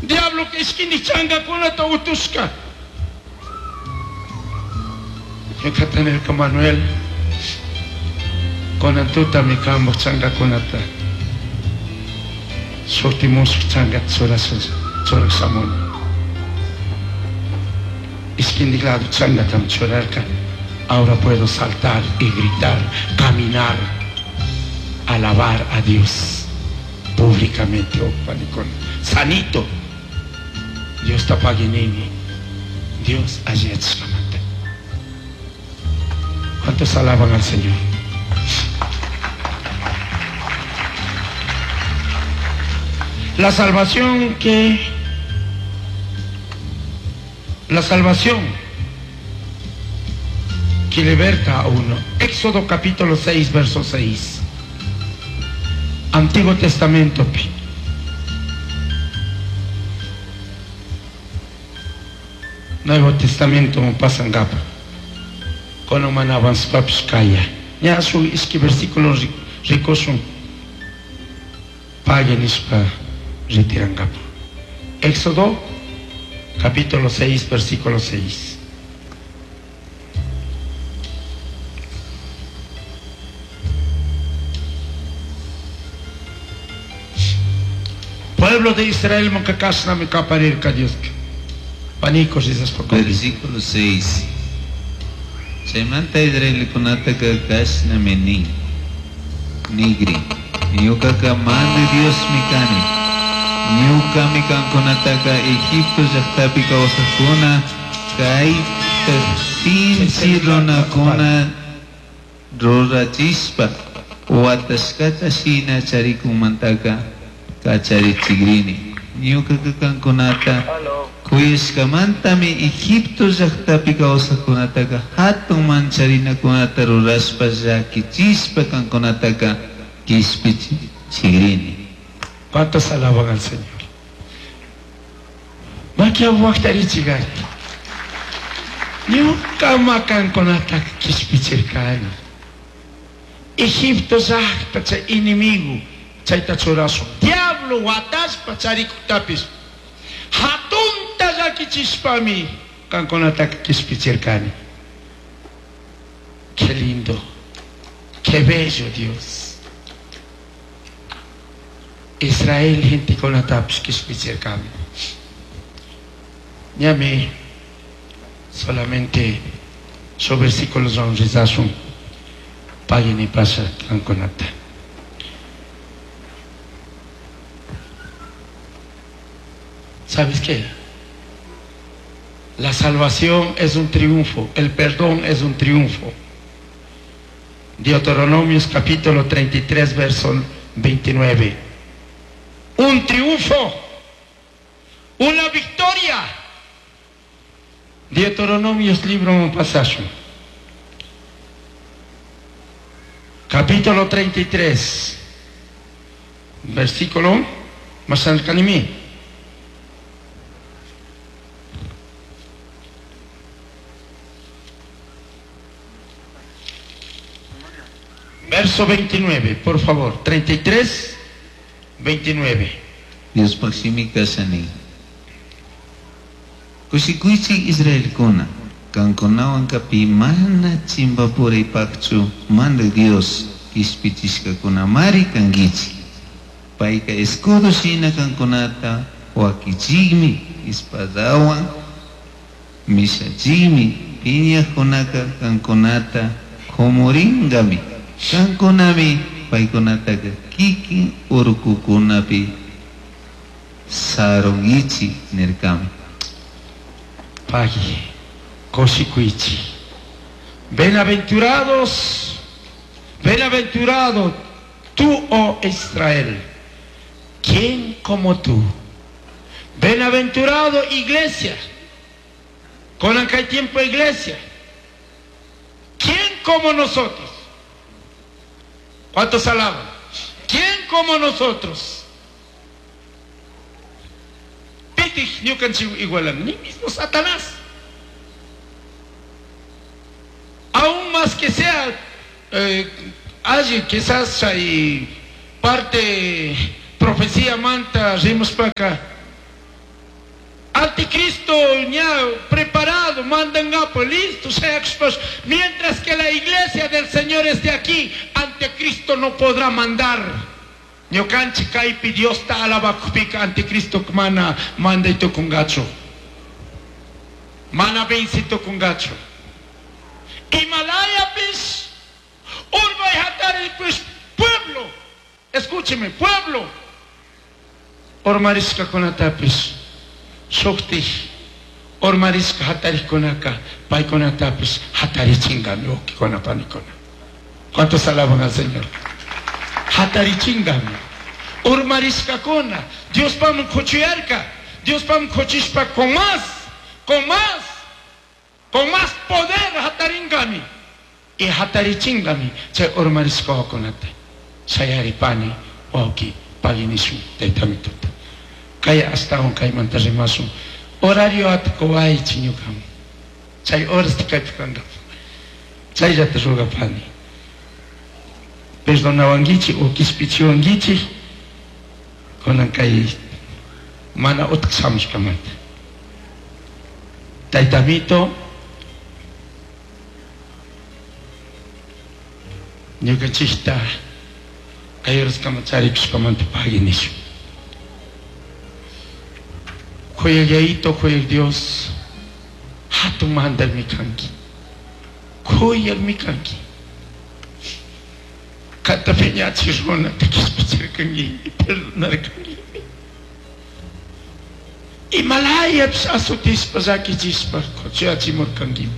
Diabloca ishquindij changacunata utushca. Ñucata nirca Manuel, cunan tutami cambaj changacunata shuti mushuj changata churasha churaj shamuni. Ishquindij lado changatami churarca. Ahora puedo saltar y gritar, caminar, alabar a Dios públicamente, oh, panicuna. Sanito. Diosta pagui nini. Dios alliyachishkamanta. ¿Cuántos alaban al Señor? La salvación que la salvación que liberta a uno. Éxodo capítulo 6, verso 6. Antiguo Testamento. Nuevo Testamento pasangapa. Kono mana avanzpapish kaya. Ña shuk ishki versículo rikushun. Pagui nishpa retirangapa. Éxodo capítulo 6, versículo 6. Pueblo de Israel kashnami kaparirka Dioska. Panico rizashpa Versículo 6. Chaymanta israelikunataka kashnami nin. Nigri. Ñuqaqa Mandaj Diosmi kani. Ñuqami kankunataka Egipto llaqtapi kawsaqkuna kayta sinchi runakuna rurachispa watashkata shina charikunmantaka kacharichikrini. Ñuqaqa kankunata kuyashkamantami Egipto llaqtapi kawsaqkunataka hatun mancharinakunata rurashpa llakichispa kankunataka kishpichikrini. ¿Cuántos alaban al Señor? Makia waqtarichigar. Ñuqa makankunata kishpichirkani. Egipto llaqta chay enemigo chayta churasun. Diablo watashpa charikutapis. Hatunta llakichishpami kankunata kishpichirkani. Qué lindo, qué bello Dios. Israel gentekunatapish kishpichirkami. Ñami solamente su versículos rizasun pagini pasha kankunata. ¿Sabes qué? La salvación es un triunfo, el perdón es un triunfo. Deuteronomios capítulo 33, verso 29. Un triunfo, una victoria. Deuteronomios libro un pasaje. Capítulo 33, versículo más al canimí. Verso 29, por favor. 33, 29. Diospaq shimi kashani. Kushikuychik Israelkuna, kankunawan pi mana chimpapuraypaqchu Mandaj Dios kishpichishkakunamari kankichik. Payka escudo shina kankunata wakichikmi, espadawan mishachikmi, piñaqkunaka kankunata khumuringami. Kankunami paykunataka kikin urkukunapi sarunkichik nirkami. Pagui, kushikuychik. Bienaventurados, bienaventurado tú, oh Israel, ¿quién como tú? Bienaventurado iglesia, con aquel tiempo iglesia, ¿quién como nosotros? ¿Cuántos alaban? ¿Quién como nosotros? Pitij ñukanchik igualan, ni mismo Satanás. Aún más que sea, allí quizás hay parte profecía manta rimushpaka Anticristo ya preparado, mandan listo, mientras que la iglesia del Señor esté aquí, anticristo no podrá mandar. Ñukanchik kaypi Diosta alabakupika anticristo mana manday tukungachu. Mana venci tukungachu. Himalayapis, urmay hataripis, pueblo, escúcheme, pueblo. Urmarishkakunatapis, shuktik, urmarishka hatarikkunaka, paykunatapis hatarichingami, wawqikuna panikuna. ¿Cuántos alaban al Señor? Hatarichingami. Urmarishkakuna, Diospam kuchuyarka, Diospam kuchishpa con más, con más, con más poder hataringami. Y hatarichingami, chay urmarishkakunata. Shayari pani, wawqi, paginishun, taytamituta. Kay astawan kaymanta rimasun. Horario atkuwaychi ñukaman. Chay horasta kaypi kankapa. Chayllata rugapani. Perdonawankichik o kishpichiwankichik kunan kay mana utqa shamushkamanta. Taytamito, ñukanchikta kay horaskama charikushkamanta pagui nishun. Kuyaq Yayito, kuyaq Dios, hatun mandaqmi kanki. Kuyaqmi kanki. Kanta phiñachik runata kishpichirkanki, perdonarkanki. Imalayapis azotishpa llakichishpa kuchuyachimurkankimi.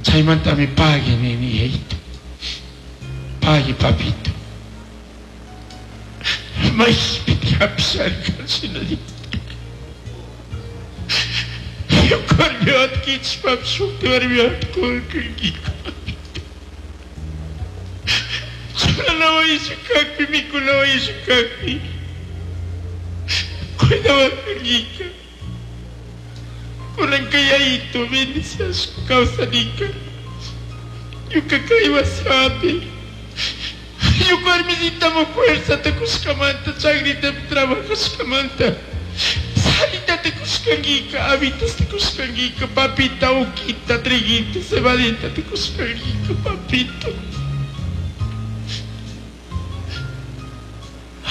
Chaymantami pagui nini Yayito. Pagui papito. Maypiti hapisharka shinallata. Warmiwata kichishpapish shukti warmiwata kurkanki papito. Churana wayisha kakpi, mikuna wayisha kakpi. Cuidawarkankika. Kunanka Yayito bendiciashpa kawsanika. Ñuka kay wasipi. Ñuka warmisitaman fuerzata kushkamanta, chakritapi trabajashkamanta. Salita te kushkankika, habitas te kushkankika, papita, uquita, triguita, cebadita te kushkankika, papito.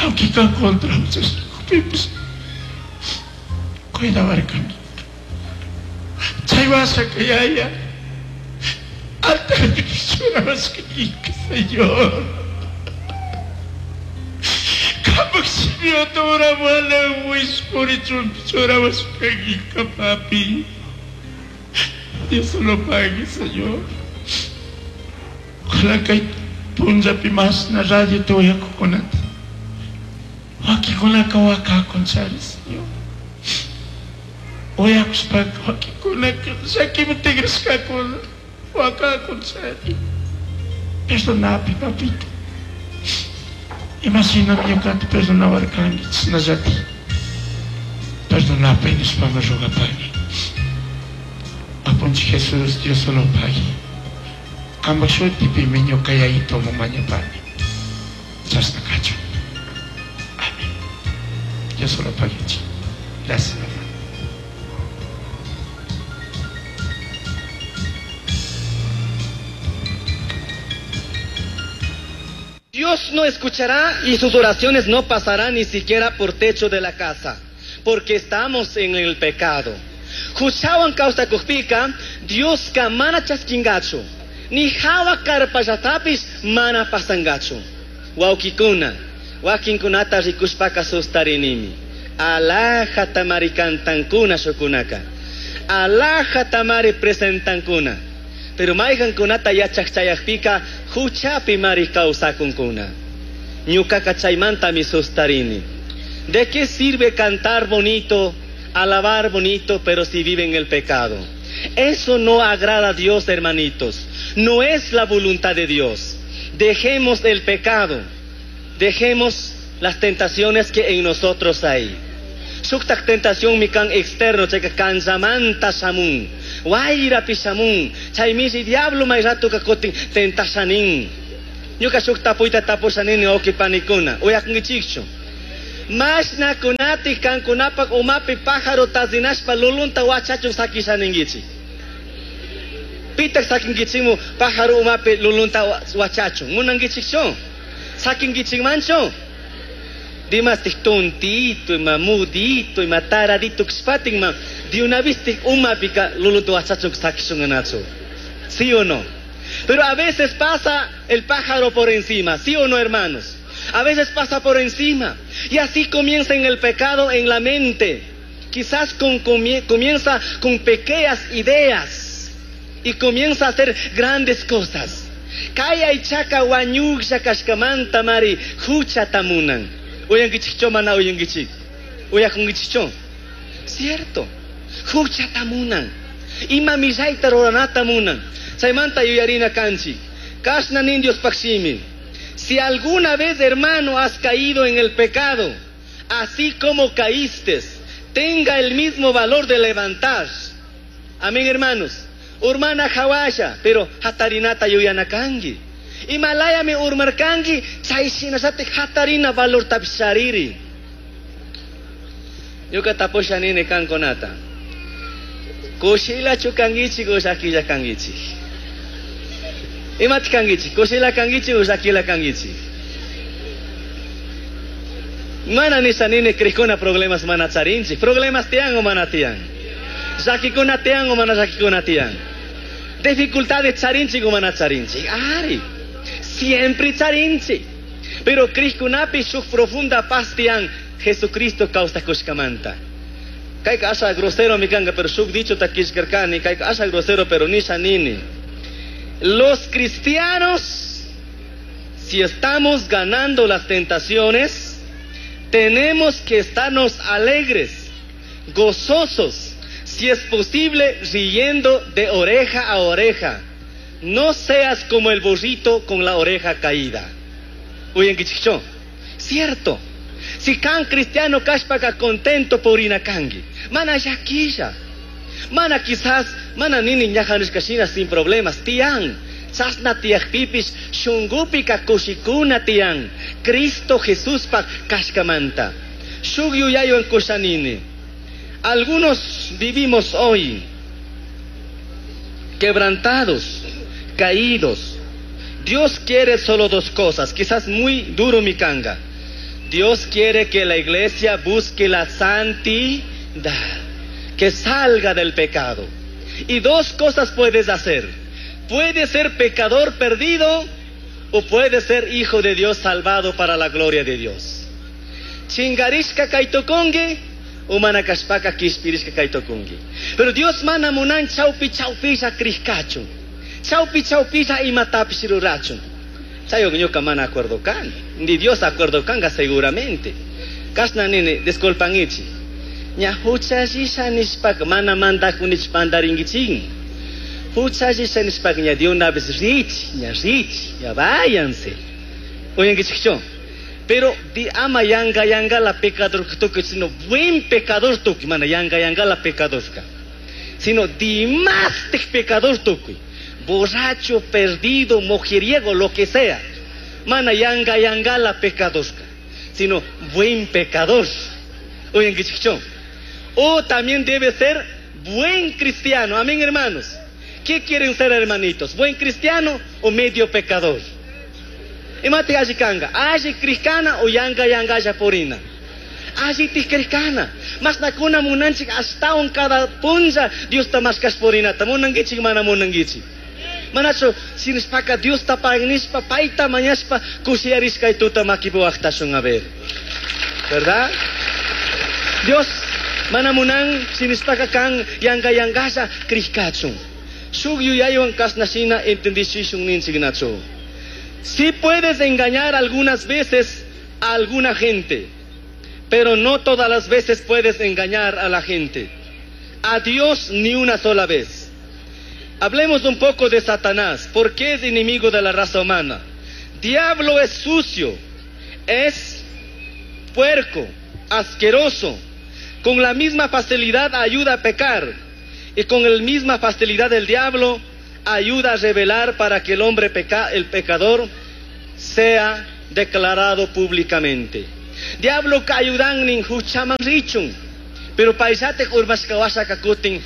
Aunque kan contra muchos cuidawarkankika. Chay wasaka yaya, altarpi churawashkankika, Señor. Kapak shimiwata uramana wishpurichun churawashkankika, papi. Dios lo pague, Señor. Ojalá kay punllapi mashna radio te uyakukunata. Wakikunaka wakakun chari, Señor. Uyakushpaka wakikunaka llakiman tigrashkakuna wakakun chari. Perdonapi, papito. Imashinami ñukata perdonawarkanki, chashnallatik perdonapi nishpami rugapani. Apunchik Jesús, Dios lo pague. Kampak shutipimi ñuka Yayitoman mañapani. Chashna kachun. Amén. Dios lo pague. Gracias, hermano. Dios no escuchará y sus oraciones no pasarán ni siquiera por techo de la casa, porque estamos en el pecado. Huchawan kawsakukpika, Dioska mana chaskingachu, ni hawa karpallatapis mana pasangachu. Wawkikuna, wakinkunata rikushpaka sustarinimi. Alhaja tamari kantankuna shukunaka. Alhaja tamari presentankuna. Pero mayqankunata yachaq chayaqpika huchapi mari kawsakunkuna. Ñuqaqa chaymantami sustarini. ¿De qué sirve cantar bonito, alabar bonito, pero si viven el pecado? Eso no agrada a Dios, hermanitos. No es la voluntad de Dios. Dejemos el pecado. Dejemos las tentaciones que en nosotros hay. Shuktak tentación mi kan externo, chayka kanllamanta shamun. Wayrapi shamun. Chay mishi diablo may ratuka kutin tentashanin. Ñuka shuk tapuyta tapushanini wawqi panikuna. Uyakunkichikchu. Mashnakunati kankunapak umapi pájaro tazinashpa lulunta wachachun sakisha ninkichik. Pitak sakinkichikmu pájaro umapi lulunta wachachun. Munankichikchu? Sakinkichikmanchu? Dimastik tontito, ima mudito, ima taradito kashpatin ma de una vez umapika lulunta wachachun sakishunanachu. ¿Sí o no? Pero a veces pasa el pájaro por encima, ¿sí o no, hermanos? A veces pasa por encima. Y así comienza en el pecado en la mente. Quizás comienza con pequeñas ideas y comienza a hacer grandes cosas. Kay aychaka wañuqlla kashkamanta mari huchata munan. Uyankichikchu mana uyankichik? Uyakunkichikchu? Cierto. Huchata munan. Ima millayta ruranata munan. Chaymanta yuyarina kanchik. Kashna nin Diospaj shimi. Si alguna vez, hermano, has caído en el pecado, así como caíste, tenga el mismo valor de levantar. Amén, hermanos. Urmana jahuasha, pero hatarinata yuyana kanki. Imalayami urmarkanki, chay shinallati hatarina valor tapshariri. Ñuka tapusha nini kankunata. Kushilachu kankichik o llakilla kankichik? Imata kankichik? Kushila kankichik o llakilla kankichik? Mana nisha nini crikuna problemas mana charinchik. Problemas tiyan o mana tiyan? Llakikuna tiyan o mana llakikuna tiyan? Dificultades charinchik o mana charinchik? Ari, siempre charinchik. Pero crikunapi shuk profunda paz tiyan Jesucristo kawsakushkamanta. Kayka asha grosero mi kanga, pero shuk dicho takishkarkani, kayka asha grosero, pero nisha nini. Los cristianos, si estamos ganando las tentaciones, tenemos que estarnos alegres, gozosos, si es posible, riendo de oreja a oreja. No seas como el burrito con la oreja caída. Uyankichikchu. Cierto. Si kan cristiano kashpaka contento purina kanki. Mana llakilla. Mana quizás, mana nini ñajanishkashina sin problemas. Tian. Chasna tiyakpipish shungupika kushikuna tian. Cristo Jesuspak kashkamanta. Shuk yuyaywan kushanini. Algunos vivimos hoy quebrantados, caídos. Dios quiere solo dos cosas, quizás muy duro mi kanga. Dios quiere que la iglesia busque la santidad, que salga del pecado. Y dos cosas puedes hacer. Puedes ser pecador perdido o puedes ser hijo de Dios salvado para la gloria de Dios. Chingarishka kaitokongi, umana kashpaka kishpirishka kaitokongi. Pero Dios mana munan chaupi chaupilla krishkachun. Chaupi chaupilla imatapish rurachun. Chayo ñuka mana acuerdo kan. Ni Dios acuerdo kanga seguramente. Kashna nini, disculpan ichi. Ña huchallisha nishpaka mana mandakunich pandaringuichin. Huchallisha nishpaka ña de una vez rich, ña rich, ya váyanse. Oyenguichikcho. Pero di ama yanga yanga la pecador tuki, sino buen pecador tuki, mana yanga yanga la pecador ka. Sino di más pecador tuki. Borracho, perdido, mujeriego, lo que sea. Mana yanga yanga la pecador ka. Sino buen pecador. Oyenguichikcho. O también debe ser buen cristiano. Amén, hermanos. ¿Qué quieren ser, hermanitos? ¿Buen cristiano o medio pecador? Imate alli kanga, alli krishkana o yanga yanga purina. Alli krishkana. Mashnakuna munanchik ashtawan cada punlla Diosta mashkash purinata. Munankichik mana munankichik. Manachu sinishpaka Diosta pagnishpa payta mañashpa kushiyarishkay tuta makipi waqtashun a ver. ¿Verdad? Dios mana munan sinishpaka kan yanga yangasha krishkachun. Shuk yuyaywan kashnashina entendishishun ninchiknachu. Sí puedes engañar algunas veces a alguna gente, pero no todas las veces puedes engañar a la gente. A Dios ni una sola vez. Hablemos un poco de Satanás. ¿Por qué es enemigo de la raza humana? Diablo es sucio, es puerco, asqueroso. Con la misma facilidad ayuda a pecar y con la misma facilidad del diablo ayuda a revelar para que el hombre el pecador sea declarado públicamente. Diabloka ayudan huchaman richun. Pero payllatik urmashka washaka kutin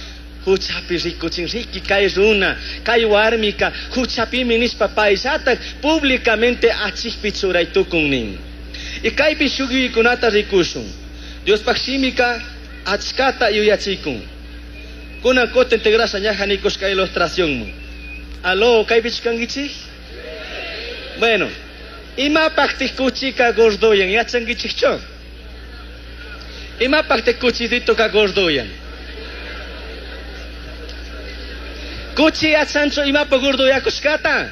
huchapi rikuchin riki kay runa, kay warmika huchapimi nishpa payllatak públicamente achikpi churay tukun nin. Y kaypi shuk yuyaykunata rikushun. Diospaj shimika achkata yuyachikun. Kunan kutin tigrasha ñaja nikushka ilustracionman. Aló, kaypichu kankichik? Bueno, imapaqtik kuchika gordoyan, yachankichikchu? Imapaqtik kuchisitoka gordoyan? Kuchi yachanchu imapa gordoyakushkata?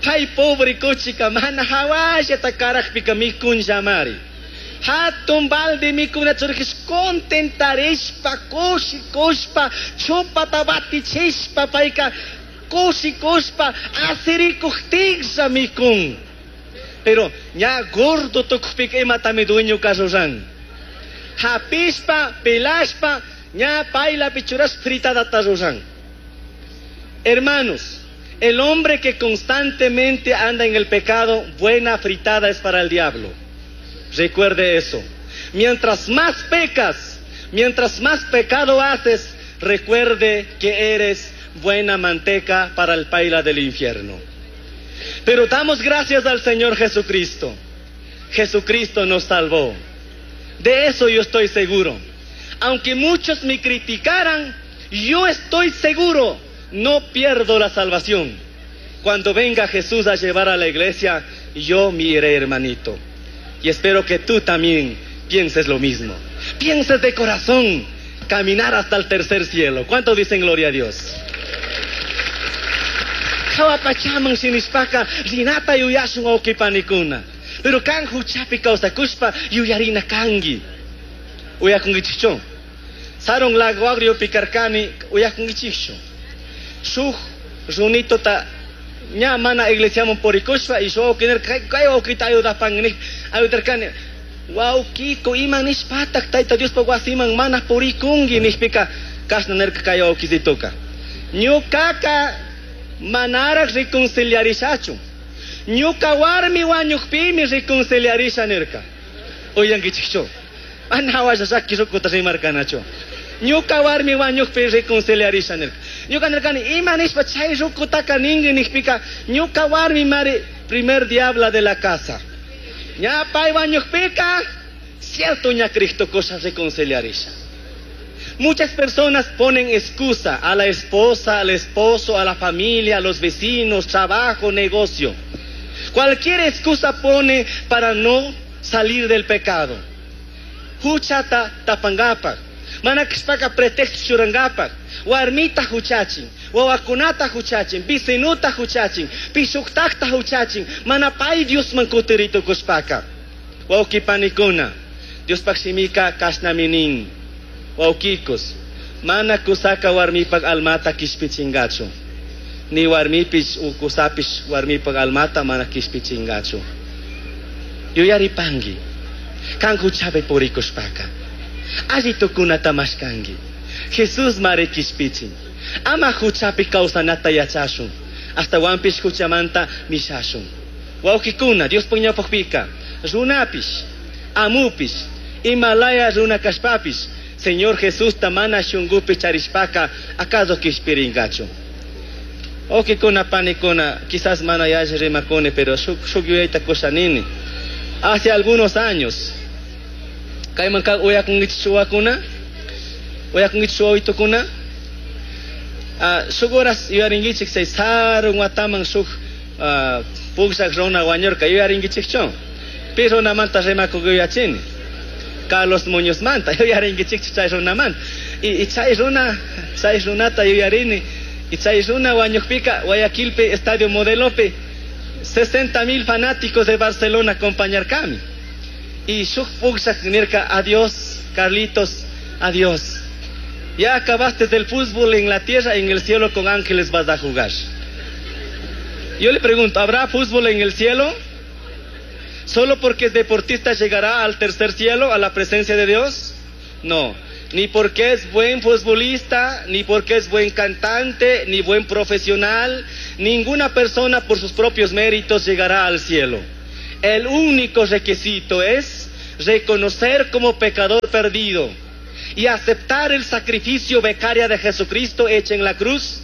Pay pobre kuchika mana hawallata karajpika mikunllamari. Hatun balde mikuna churkish contentarishpa, kushikushpa, chupata batichishpa, payka kushikushpa, asirikujtinlla mikun. Pero ña gordo tukujpika imatami dueñoka ruran. Hapishpa, pelashpa, ña paylapi churashpa fritadata ruran. Hermanos, el hombre que constantemente anda en el pecado, buena fritada es para el diablo. Recuerde eso. Mientras más pecas, mientras más pecado haces, recuerde que eres buena manteca para el paila del infierno. Pero damos gracias al Señor Jesucristo. Jesucristo nos salvó. De eso yo estoy seguro. Aunque muchos me criticaran, yo estoy seguro, no pierdo la salvación. Cuando venga Jesús a llevar a la iglesia, yo me iré, hermanito. Y espero que tú también pienses lo mismo. Pienses de corazón, caminar hasta el tercer cielo. ¿Cuántos dicen gloria a Dios? Jahua pachaman shinishpaka rinata yuyashun wawqipanikuna. Pero kan huchapi kawsakushpa yuyarina kanki. Uyakunkichikchu? Sarun Lago Agriopi karkani uyakunkichikchu? Shuk runitota ña mana iglesiaman purikushpa y shuk wawqi nirka kay wawqita ayudapan ayudarkani. Wawqiko ima nishpatak Tayta Diospa wasiman mana purikunki nishpika kashna nirka kay wawqisituka. Ñukaka manaraj reconciliarishachu. Ñuka warmi wañukpimi reconciliarisha nirka. Uyankichikchu? Mana hawalla llaki rukuta rimarkanachu. Ñuka warmi wañukpi reconciliarisha nirka. Ñuka nirkani ima nishpa chay rukutaka ninki nishpika ñuka warmi mari primer diabla de la casa. Ña pay wañukpika cierto ña Cristo cosa reconciliarisha. Muchas personas ponen excusa a la esposa, al esposo, a la familia, a los vecinos, trabajo, negocio. Cualquier excusa pone para no salir del pecado. Huchata tapangapak, mana kashpaka pretexto churangapak, warmita huchachin, wawakunata huchachin, vecinuta huchachin, pishuktakta huchachin, mana pay Diosman kutiritukushpaka. Wawqipanikuna, Diospaj shimika kashnami nin. Wawqikos, mana kusaka warmipak almata kishpichingachu. Ni warmipish u kusapish warmipak almata mana kishpichingachu. Yuyaripanki, kan huchapi purikushpaka. Alli tukunata mashkanki. Jesús mari kishpichin. Ama huchapi kawsanata yachashun. Ashtawanpish huchamanta mishashun. Wawqikuna, Diospaj ñawpajpika, runapish, amupish, imalaya runa kashpapish, Señor Jesús mana shungupi charishpaka, acaso kishpiringachu. Wawqikuna, panikuna, quizás mana yalli rimakuni, pero shuk yuyayta kushanini. Hace algunos años, kayman ka uyakunkichik wawakuna, uyakunkichik wawitukuna, shuk horas yuyarinkichik chay sarun wataman shuk pukllak runa wañurka, yuyarinkichikchu? Pi runamanta rimakuk yuyachini? Carlos Muñozmanta, yuyarinkichikchu chay runamanta. Y chay runa, chay runata yuyarini, y chay runa wañukpika Guayaquilpi Estadio Modelopi 60,000 fanáticos de Barcelona acompañarkami. Y shuk pukllak nirka, adiós, Carlitos, adiós. Ya acabaste del fútbol en la tierra, en el cielo con ángeles vas a jugar. Yo le pregunto, ¿habrá fútbol en el cielo? ¿Solo porque es deportista llegará al tercer cielo, a la presencia de Dios? No, ni porque es buen futbolista, ni porque es buen cantante, ni buen profesional. Ninguna persona por sus propios méritos llegará al cielo. El único requisito es reconocer como pecador perdido y aceptar el sacrificio becaria de Jesucristo hecho en la cruz,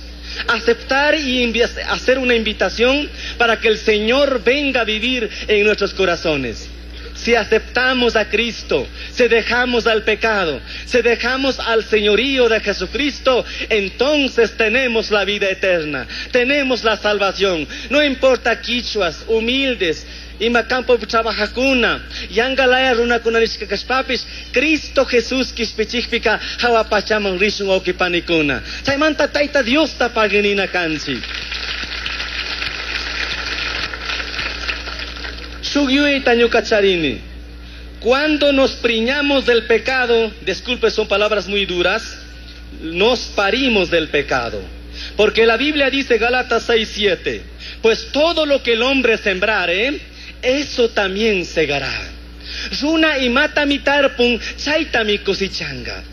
aceptar y hacer una invitación para que el Señor venga a vivir en nuestros corazones. Si aceptamos a Cristo, si dejamos al pecado, si dejamos al señorío de Jesucristo, entonces tenemos la vida eterna, tenemos la salvación. No importa quichuas, humildes, ima campo trabajacuna, yangalaya runakuna nishka kashpapish, Cristo Jesús kishpichikpika hawa pachaman rishun wawqipanikuna. Chaymanta Tayta Diosta paginina kanchik. Shuk yuyayta ñuka charini. Cuando nos preñamos del pecado, disculpe, son palabras muy duras, nos parimos del pecado. Porque la Biblia dice, Gálatas 6:7, pues todo lo que el hombre sembrare, eso también segará. Runa imatami tarpun, chaytami cosechanga.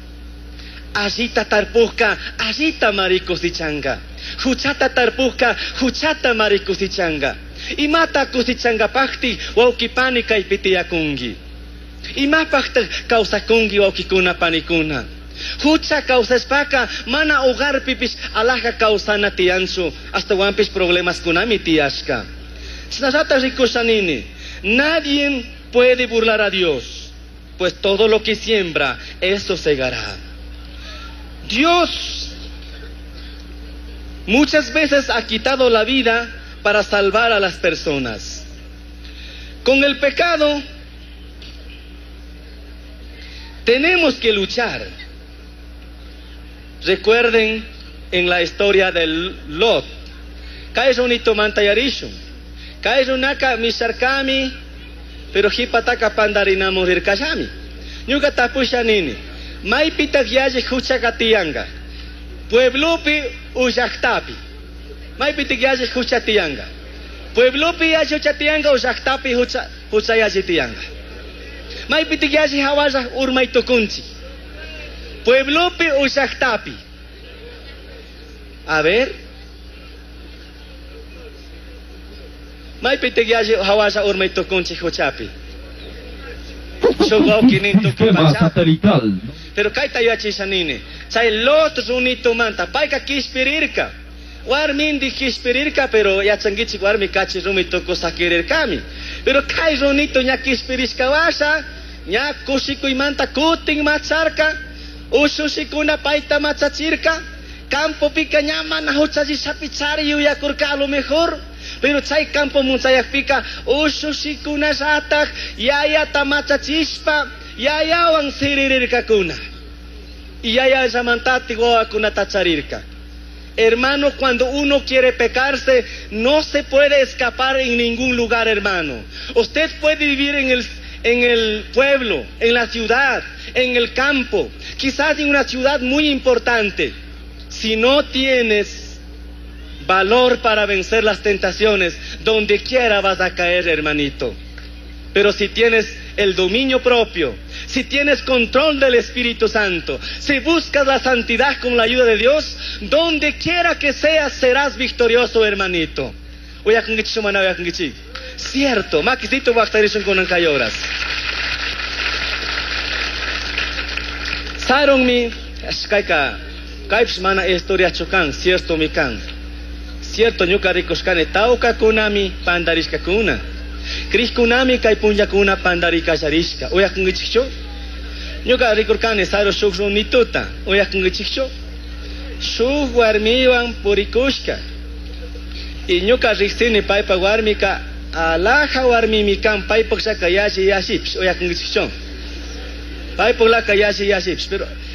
Allita tarpujka, allita mari cosechanga. Huchata tarpujka, huchata mari cosechanga. Imata cosechangapajti, wawqipani kaypi tiyakunki. Imapajtaj kawsakunki wawqikuna panikuna. Hucha kawsashpaka mana hogarpipish alaja kawsana tiyanchu, astawanpish problemaskunami tiyashka. Chashnallata rikushanini, nadie puede burlar a Dios, pues todo lo que siembra, eso segará. Dios muchas veces ha quitado la vida para salvar a las personas. Con el pecado tenemos que luchar. Recuerden en la historia del Lot. Kay runito mantayarishun. Kay runaka misharkami, pero jipataka pandarinamun rirkallami. Ñuka tapusha nini, maypitaq yalli huchaka tiyanga? Pueblopi u llaqtapi. Maypitaq yalli hucha tiyanga? Pueblopi yalli hucha tiyanga u llaqtapi hucha yalli tiyanga? Maypitaq yalli hawalla urmay tukunchik? Pueblopi u llaqtapi. A ver. Maypitaq yalli hawalla urmay tukunchik huchapi? Sistema satelital. Pero kayta yachasha nini. Chay Lot runitumanta payka kishpirirka. Warmindi kishpirirka, pero yachankichik warmi kachi rumi tukusakirirkami. Pero kay runito ña kishpirishka washa, ña kushikuymanta kutin macharka, ushushikuna payta machachirka, campopika ña mana huchallishapi chari yuyakurka a lo mejor. Pero chay campo munchayakpika ushushikunallataq yayata machachishpa yayawan siririrkakuna. Y yayallamantati wawakunata charirka. Hermano, cuando uno quiere pecarse, no se puede escapar en ningún lugar, hermano. Usted puede vivir en el pueblo, en la ciudad, en el campo, quizás en una ciudad muy importante. Si no tienes valor para vencer las tentaciones, donde quiera vas a caer, hermanito. Pero si tienes el dominio propio, si tienes control del Espíritu Santo, si buscas la santidad con la ayuda de Dios, donde quiera que seas, serás victorioso, hermanito. Cierto, makisito waqtarishun kunan kay horas. Sarunmi, kayka, kaypish mana historiachu kan, cierto mi kan. Cierto ñuka rikushkani tawkakunami pandarishkakuna. Krishkunami kay punllakuna pandarikasharishka. Uyakunkichikchu? Ñuka rikurkani saru shuk runituta. Uyakunkichikchu? Shuk warmiwan purikushka. Y ñuka riksini paypa warmika alaja warmimi kan paypaq llaka yalli yallipish. Uyakunkichikchu? Paypaq laka yalli yallipish.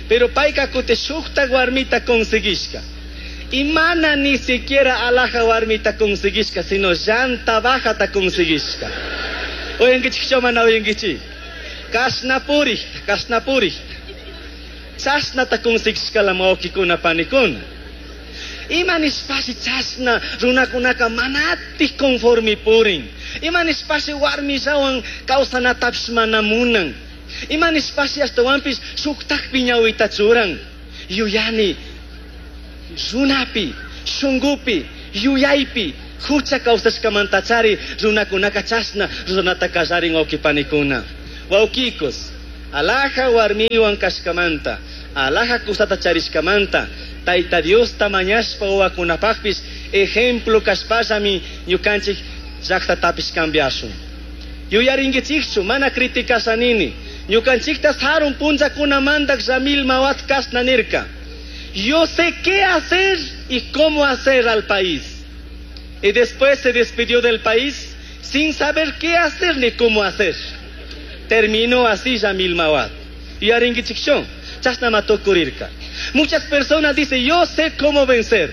Pero payka kuti shukta warmita conseguishka. Y mana ni siquiera alaja warmita conseguishka, sino llanta bajata conseguishka. Uyankichikchu mana uyankichik? Kashna purikta, kashna purikta. Chashnata conseguishka la wawqikuna panikuna. Ima nishpashi chashna runakunaka manatik conforme purin. Ima nishpashi warmillawan kawsanatapish mana munan. Ima nishpashi ashtawanpish shuktakpi ñawita churan. Yuyani runapi, shungupi, yuyaypi, Hucha kawsashkamantachari runakunaka chashna ruranata kallarin wawqipanikuna. Wawqikos, alaja warmiwan kashkamanta, alaja kusata charishkamanta, Tayta Diosta mañashpa wawakunapaqpis ejemplo kashpallami ñukanchik llaqtatapish cambiashun. Yuyarinkichikchu mana criticashanini. Ñukanchikta sarun punllakunamanta Jamil Mahuad kashna nirka. Yo sé qué hacer y cómo hacer al país. Y después se despidió del país sin saber qué hacer ni cómo hacer. Terminó así Jamil Mahuad. Yuyarinkichikchu, chashnama tukurirka. Muchas personas dicen, yo sé cómo vencer,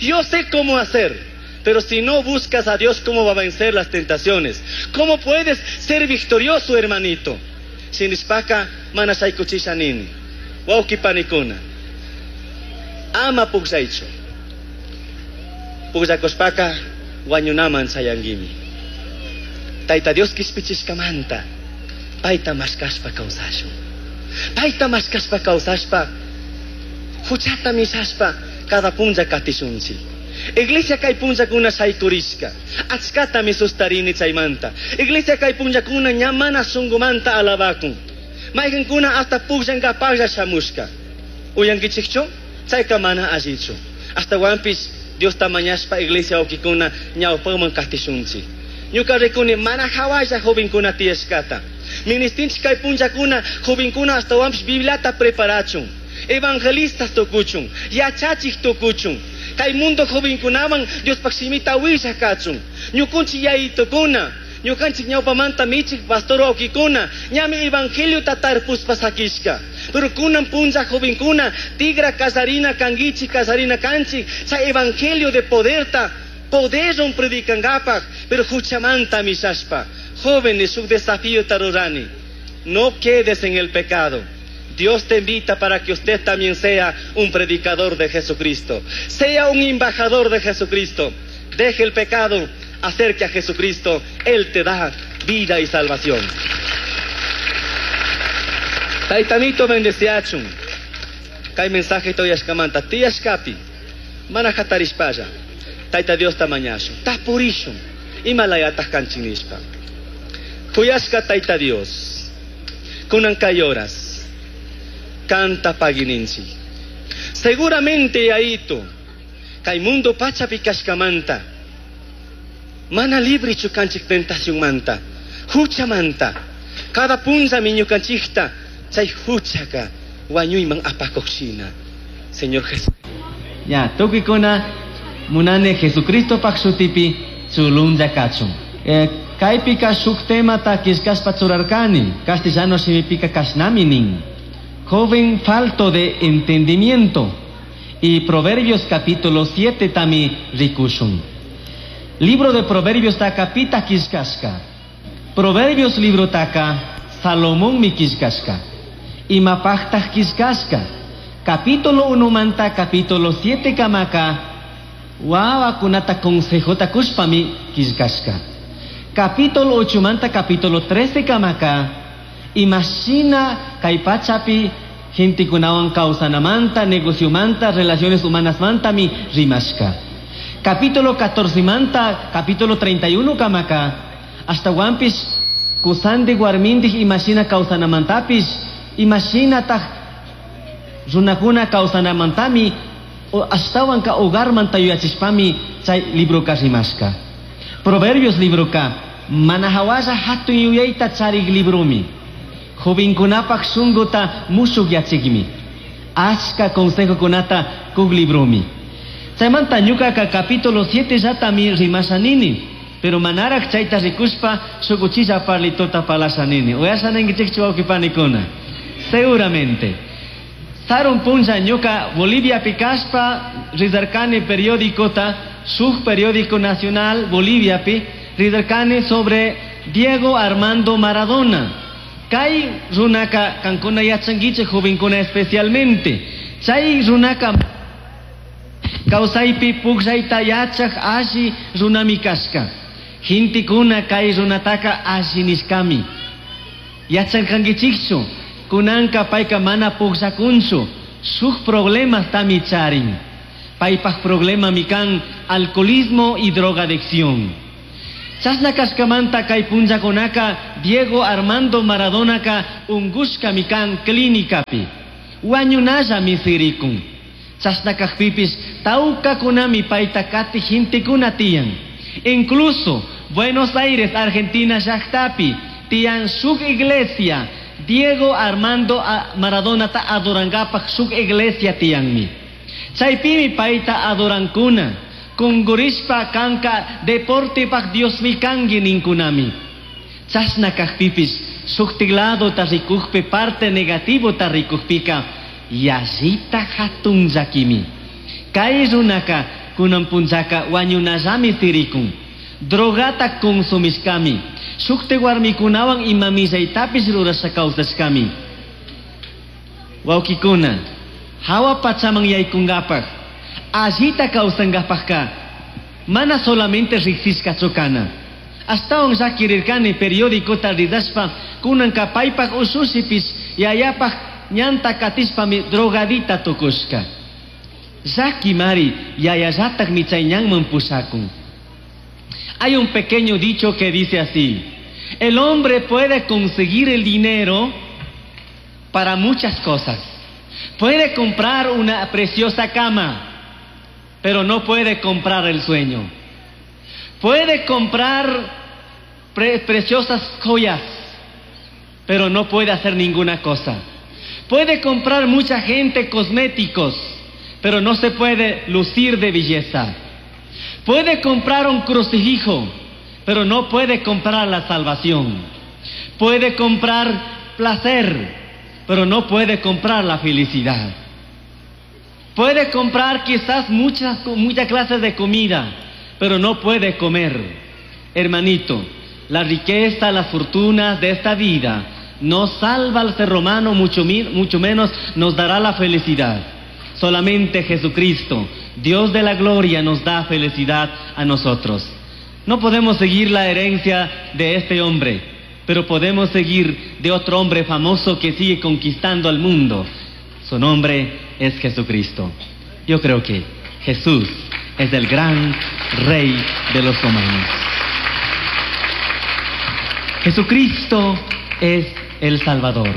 yo sé cómo hacer. Pero si no buscas a Dios, ¿cómo va a vencer las tentaciones? ¿Cómo puedes ser victorioso, hermanito? Shinishpaka mana shaykuchishanini. Wawqipanikuna. Ama pukllaychu. Pukllakushpaka wañunaman chayanguimi. Tayta Dios kishpichishkamanta payta mashkashpa kawsashun. Payta mashkashpa kawsashpa huchata mishashpa cada punlla katishunchik. Iglesia kay punllakuna shaykurishka. Achkatami sustarini chaymanta. Iglesia kay punllakuna ña mana shunqumanta alabakun. Mayqinkuna hasta pukllankapaqlla shamushka. Uyankichikchu? Chayka mana allichu. Ashtawanpish Diosta mañashpa iglesia wawqikuna ñawpaman katishunchik. Ñuka rikuni mana hawalla jovenkuna tiyashkata. Ministinchik kay punllakuna jovenkuna ashtawanpish Bibliata preparachun. Evangelistas tukuchun, yachachik tukuchun. Kay mundo jovenkunaman Diospaq shimita willaq kachun. Ñukunchik yayitukuna, ñukanchik ñawpamanta michik pastor wawqikuna, ñami evangeliota tarpuspa sakishka. Pero kunan punlla jovenkuna, tigra kasarina kankichik, kasarina kanchik, chay evangelio de poderta, poderwan predicankapaq, pero huchamanta mishashpa. Jóvenes, shuk desafío rurani. No quedes en el pecado. Dios te invita para que usted también sea un predicador de Jesucristo. Sea un embajador de Jesucristo. Deje el pecado, acerque a Jesucristo. Él te da vida y salvación. Taytamito bendeciachun. Kay mensaje toyashkamanta. Tiyashkapi. Mana hatarishpalla. Tayta Diosta mañashun. Tapurishun. Imalayataq kanchik nishpa. Kuyashka Tayta Dios. Kunan kay horas. Kanta pagininchik. Seguramente Yaito, kay mundo pachapi kashkamanta, mana librichu kanchik tentacionmanta, huchamanta, cada punllami ñukanchikta, chay huchaka wañuyman apakuqshina. Señor Jesús. Ya, tukikuna munane Jesucristo paq shutipi chulunlla kachun. Kaypika shuk temata killkashpa churarkani, castellano shimipika kashnami nin. Joven falto de entendimiento. Y Proverbios capítulo 7 tami rikushun. Libro de Proverbios taka pita killkashka. Proverbios libro taka Salomón mi killkashka. Imapaqtaq killkashka. Capítulo 1 manta capítulo 7 kamaka wawakunata consejota kushpami killkashka. Capítulo 8 manta capítulo 13 kamaka imashina kay pachapi gentekunawan kawsanamanta, negociomanta, relaciones humanas mantami rimashka. Capítulo 14 manta, capítulo 31 kamaka, ashtawanpish kusandik warmindik imashina kawsanamantapis, imashinataq runakuna kawsanamantami, ashtawanka hogarmanta yuyachishpami chay libroka rimashka. Proverbios libroka, mana hawalla hatun yuyayta charik libromi. Jovenkunapaq shunquta mushuqyachikmi. Achka consejokunata kuk libromi. Chaymanta ñukaka capítulo 7 llatami rimashanini. Pero manaraq chayta rikushpa shuk uchilla parlitota parlashanini. Uyashaninkichikchu wawqipanikuna. Seguramente. Sarun punlla ñuka Boliviapi kashpa rizarkani periódicota, shuk periódico nacional Boliviapi, rizarkani sobre Diego Armando Maradona. Kay runaka kankuna yachankichik jovenkuna especialmente. Chay runaka kawsaypi pukllayta yachaq alli runami kashka. Gentekuna kay runataka alli nishkami. Yachankankichikchu, kunanka payka mana pukllakunchu, shuk problemas tami charin. Paypaj problemami kan alcoholismo y drogadicción. Chashna kashkamanta kay punllakunaka Diego Armando Maradonaka ungushkami kan clínicapi. Wañunallami sirikun. Chashna kajpipis tawkakunami payta kati gentekuna tiyan. Incluso Buenos Aires, Argentina llaqtapi tiyan shuk iglesia Diego Armando Maradonata adorankapaj shuk iglesia tiyanmi. Chaypimi payta adorankuna. Kungurishpa kanka deportepaj Diosmi kanki ninkunami. Chashna kajpipis shuktik ladota rikujpi parte negativota rikujpika yallita hatun llakimi. Kay runaka kunan punllaka wañunallami sirikun. Drogata consumishkami. Shuktik warmikunawan ima millaytapish rurasha kawsashkami. Wawkikuna, hawa pachaman yaykunkapaj, allita kawsankapajka, mana solamente riksishkachu kana. Ashtawan llakirirkani periódicota ridashpa, kunanka paypaj ushushipish yayapaj ñanta katishpami drogadita tukushka. Llakimari yayallatakmi chay ñanman pushakun. Hay un pequeño dicho que dice así: el hombre puede conseguir el dinero para muchas cosas. Puede comprar una preciosa cama, pero no puede comprar el sueño. Puede comprar preciosas joyas, pero no puede hacer ninguna cosa. Puede comprar mucha gente cosméticos, pero no se puede lucir de belleza. Puede comprar un crucifijo, pero no puede comprar la salvación. Puede comprar placer, pero no puede comprar la felicidad. Puede comprar quizás muchas clases de comida, pero no puede comer. Hermanito, la riqueza, las fortunas de esta vida no salva al ser humano, mucho menos nos dará la felicidad. Solamente Jesucristo, Dios de la gloria, nos da felicidad a nosotros. No podemos seguir la herencia de este hombre, pero podemos seguir de otro hombre famoso que sigue conquistando al mundo. Su nombre es Jesucristo. Yo creo que Jesús es el gran rey de los romanos. Jesucristo es el Salvador.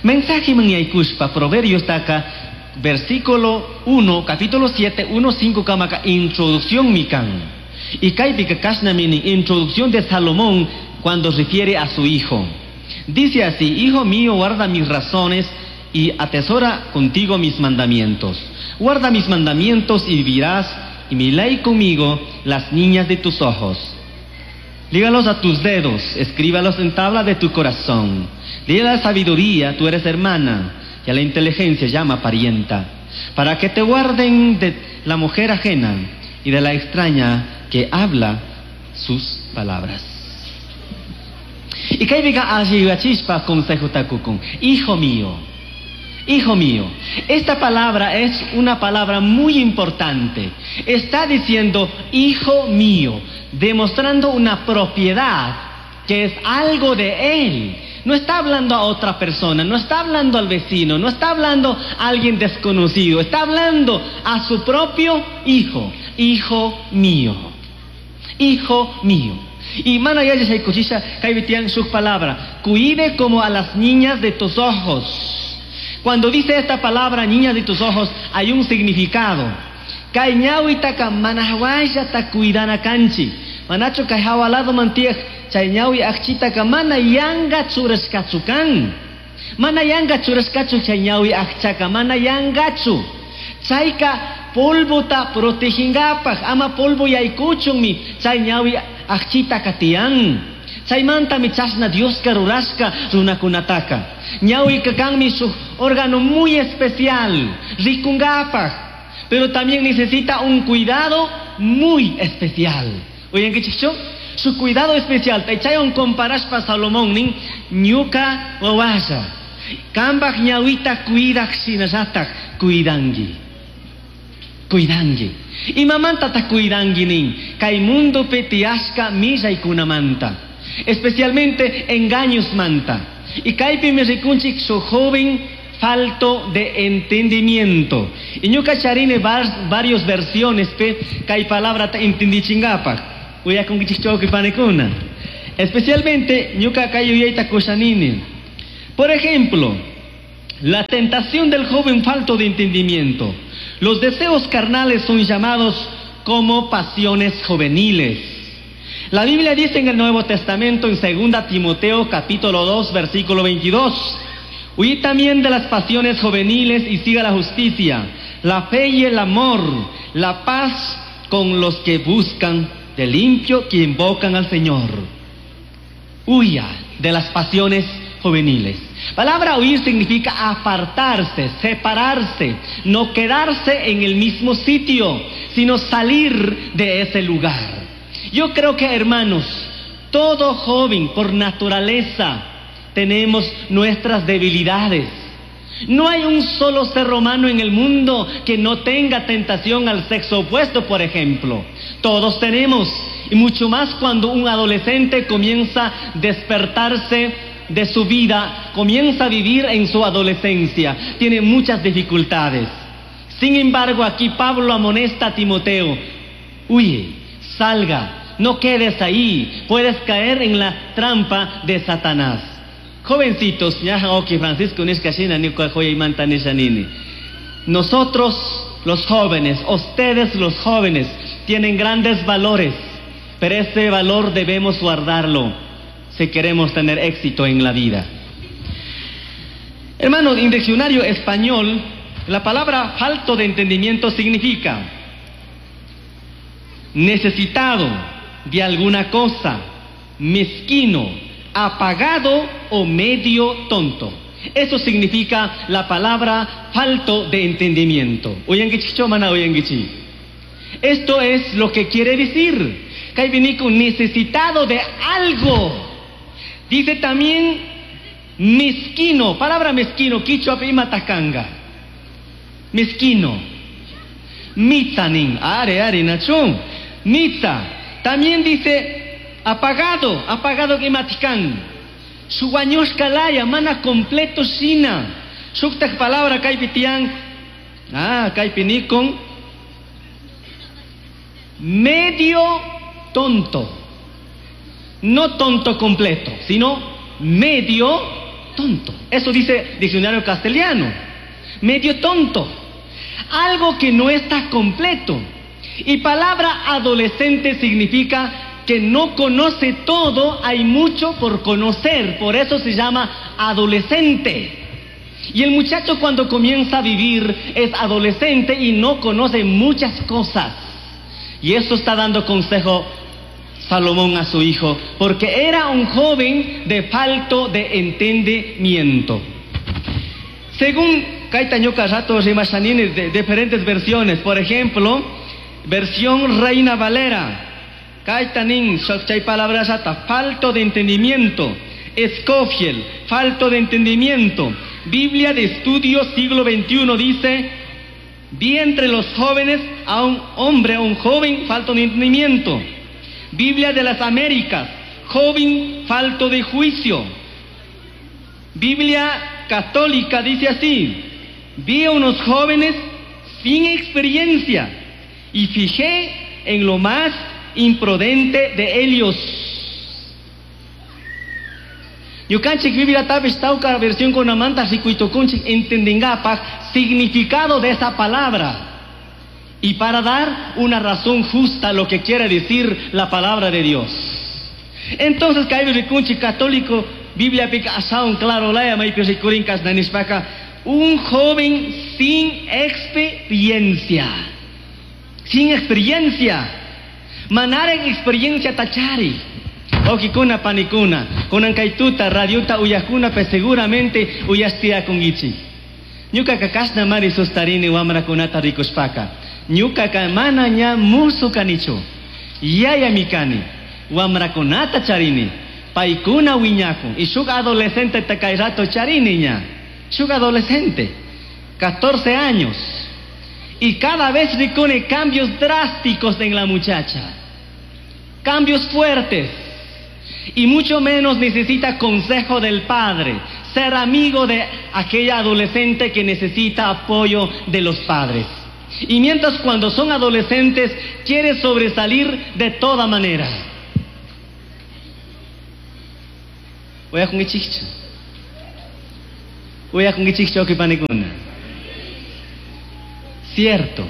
Mensaje man yaykushpa, Proverbios taka, versículo 1, capítulo 7, 1, 5, kamaka, introducción mi kan. Y kaypika kashnami nin, introducción de Salomón cuando refiere a su hijo. Dice así: hijo mío, guarda mis razones y atesora contigo mis mandamientos. Guarda mis mandamientos y vivirás, y mi ley conmigo, las niñas de tus ojos. Lígalos a tus dedos, escríbalos en tabla de tu corazón. Dile a la sabiduría, tú eres hermana, y a la inteligencia llama parienta, para que te guarden de la mujer ajena y de la extraña que habla sus palabras. Y kaypika alli yuyachishpa consejota kukun. Hijo mío, hijo mío. Esta palabra es una palabra muy importante. Está diciendo hijo mío, demostrando una propiedad que es algo de él. No está hablando a otra persona, no está hablando al vecino, no está hablando a alguien desconocido, está hablando a su propio hijo. Hijo mío, hijo mío. Y mana yalli shaykuchisha, kaypi tiyan shuk palabra, cuide como a las niñas de tus ojos. Cuando dice esta palabra, niñas de tus ojos, hay un significado. Kay ñawitaka mana jahuallata cuidana kanchik. Manachu kay jawa lado mantiaj, chay ñawi akchitaka mana yanga churashkachu kan. Mana yanga churashkachu chay ñawi akchaka, mana yangachu. Chayka polvota protegingapaj, ama polvo yaykuchunmi, chay ñawi akchitaka tiyan. Chaymantami chashna Dioska rurashka runakunataka. Ñawika kanmi shuk órgano muy especial, rikungapaj, pero también necesita un cuidado muy especial. Oyen, ¿qué chicho? Su cuidado especial. Chaywan comparashpa Salomón nin ñuka wawalla. Kambaj ñawita cuidak shinallataj cuidangi. Cuidangi. Imamantata cuidangi nin. Kay mundopi tiyashka millaykunamanta. Especialmente engaños manta. Y kaypimi rikunchik su joven falto de entendimiento. Y ñuka charini varios versiones pe kay palabra ta entendichingapaj. Uyakunkichik panikuna. Especialmente ñuka kay uyayta kushanini. Por ejemplo, la tentación del joven falto de entendimiento. Los deseos carnales son llamados como pasiones juveniles. La Biblia dice en el Nuevo Testamento, en 2 Timoteo capítulo 2, versículo 22, Huí también de las pasiones juveniles y siga la justicia, la fe y el amor, la paz con los que buscan de limpio, que invocan al Señor. Huya de las pasiones juveniles. Palabra huir significa apartarse, separarse, no quedarse en el mismo sitio, sino salir de ese lugar. Yo creo que, hermanos, todo joven por naturaleza tenemos nuestras debilidades. No hay un solo ser humano en el mundo que no tenga tentación al sexo opuesto, por ejemplo. Todos tenemos, y mucho más cuando un adolescente comienza a despertarse de su vida, comienza a vivir en su adolescencia, tiene muchas dificultades. Sin embargo, aquí Pablo amonesta a Timoteo, huye, salga, no quedes ahí, puedes caer en la trampa de Satanás. Jovencitos, Francisco nosotros los jóvenes, ustedes los jóvenes, tienen grandes valores, pero ese valor debemos guardarlo si queremos tener éxito en la vida. Hermanos, en diccionario español, la palabra falto de entendimiento significa necesitado de alguna cosa, mezquino, apagado o medio tonto. Eso significa la palabra falto de entendimiento. Esto es lo que quiere decir. Kaibiniku, necesitado de algo. Dice también mezquino, palabra mezquino, quichua imatakanga. Mezquino. Mitzanin, are, are, nachun. Mitza. También dice apagado, apagado imatikan. Suwañushkalaya, mana completo shina. Shuktak palabra kaipitian. Ah, kaipinikon. Medio tonto. No tonto completo, sino medio tonto. Eso dice diccionario castellano. Medio tonto. Algo que no está completo. Y palabra adolescente significa que no conoce todo, hay mucho por conocer. Por eso se llama adolescente. Y el muchacho cuando comienza a vivir es adolescente y no conoce muchas cosas. Y eso está dando consejo Salomón a su hijo, porque era un joven de falto de entendimiento. Según Kaitañuka Rato Rimashanini, de diferentes versiones, por ejemplo, versión Reina Valera, Kaitanin, chay palabra yata, falto de entendimiento, Scofield, falto de entendimiento, Biblia de Estudio siglo XXI dice, vi entre los jóvenes a un hombre, a un joven, falto de entendimiento. Biblia de las Américas, joven falto de juicio. Biblia católica dice así, vi a unos jóvenes sin experiencia y fijé en lo más imprudente de ellos. Ñukanchik Biblia tapish tawka versión con amanta rikuytukunchik entendingapaj significado de esa palabra. Y para dar una razón justa a lo que quiere decir la palabra de Dios. Entonces, kaypi rikunchik católico, Biblia pica asaun claro laya maypi rikurin kashnanishpaka, un joven sin experiencia. Sin experiencia. Manaren experiencia tachari. Okikuna panikuna, kunan kaytuta, radiota uyakuna, pe seguramente uyastia kungichi. Ñuka kakashna mari sustarini wamrakunata rikushpaka. Ñuka ka mana ña musu kanichu. Yaya mikani, wamrakunata charini. Paikuna wiñakun. Y shuk adolescente takay rato charini ña. Shuk adolescente, 14 años. Y cada vez rikuni cambios drásticos en la muchacha. Cambios fuertes. Y mucho menos necesita consejo del padre. ser amigo de aquella adolescente que necesita apoyo de los padres. Y mientras cuando son adolescentes quiere sobresalir de toda manera. Cierto.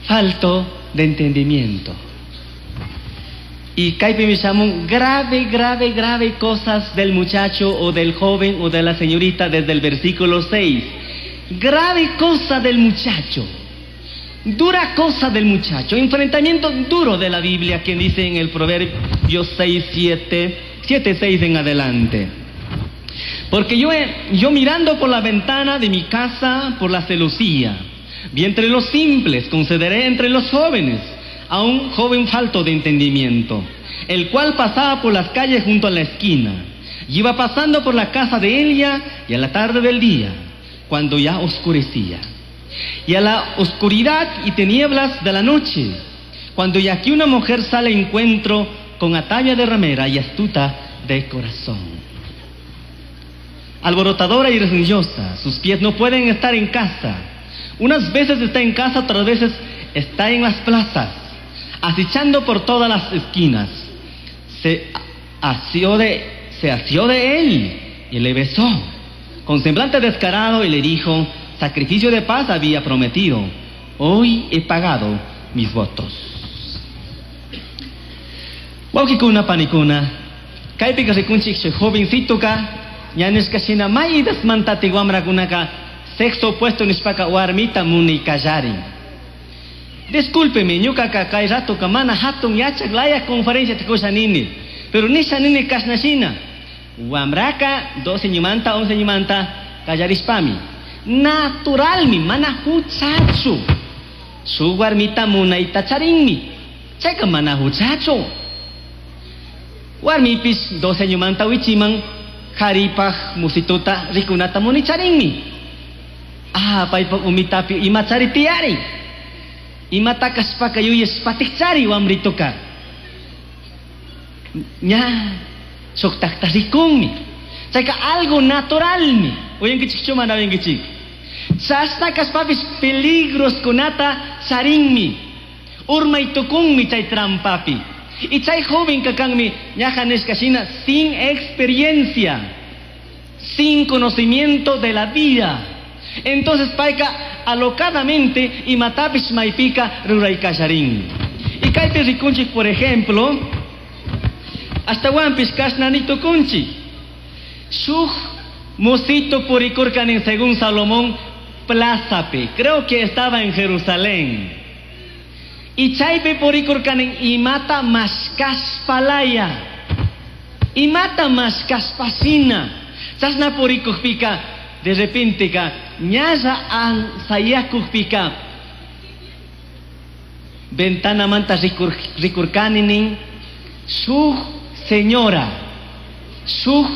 Falto de entendimiento. Y kaypi mishamun grave, grave, grave cosas del muchacho o del joven o de la señorita desde el versículo 6. Grave cosa del muchacho. Dura cosa del muchacho. Enfrentamiento duro de la Biblia que dice en el Proverbio 6, 7, 7, 6 en adelante. Porque yo mirando por la ventana de mi casa, por la celosía, vi entre los simples, concederé entre los jóvenes, a un joven falto de entendimiento, el cual pasaba por las calles junto a la esquina, y iba pasando por la casa de ella, y a la tarde del día, cuando ya oscurecía, y a la oscuridad y tinieblas de la noche, cuando ya aquí una mujer sale a encuentro con atavia de ramera y astuta de corazón. Alborotadora y religiosa, sus pies no pueden estar en casa. Unas veces está en casa, otras veces está en las plazas, acechando por todas las esquinas. Se asió de él y le besó, con semblante descarado, y le dijo: sacrificio de paz había prometido, hoy he pagado mis votos. Wawqikuna panikuna, kaypika rikunchik chay jovencitoka, ñanishka shina maydasmantati wamrakunaka sexo opuesto nishpaka warmita munaykallarin. Discúlpeme, ñuqaka kay ratoka mana hatun yachaq laya conferencia tikusha nini, pero nisha nini kashna shina. Wamraka 12 ñumanta 11 ñumanta kallarishpami naturalmi mana huchachu su warmita munayta charinmi, chayka mana huchachu. Warmipis 12 ñumanta wichiman qaripaj musituta rikunata municharinmi. Ah, paypaj umitapi imachari tiyari, imata kashpaka yuyashpatikchari wamrituka ña shuktakta rikunmi. Chayka algo naturalmi. Uyankichikchu mana uyankichik? Chashna kashpapis peligros kunata charinmi, urmay tukunmi chay trampapi. Y chay joven kakanmi ñaja nishka shina sin experiencia, sin conocimiento de la vida. Entonces payka alocadamente imatapish maypika ruraykallarin. Y kaypi rikunchik, por ejemplo, ashtawanpish kashnani tukunchik. Shuk musito purikurkanin según Salomón plazapi, creo que estaba en Jerusalén. Y chaypi purikurkanin imata mashkashpalaya, imata mashkashpasina. Chashna purikukpika de repente ka ñalla ansayakukpika ventana manta rikurkaninin shuk señora, shuk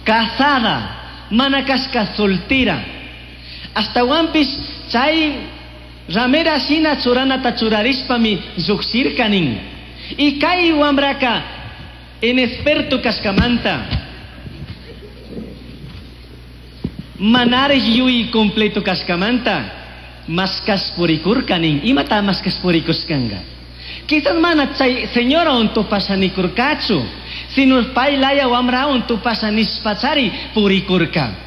casada, mana kashka soltera. Ashtawanpish chay ramera shina churanata churarishpami lluqshirkanin. Y kay wamraka inexperto kashkamanta manarij yuy completo kashkamanta mashkash purikurkanin. Imata mashkash purikushkanga? Quizás mana chay señora tupashanikurkachu, sino paylaya wamrawan tupashanishpachari purikurka.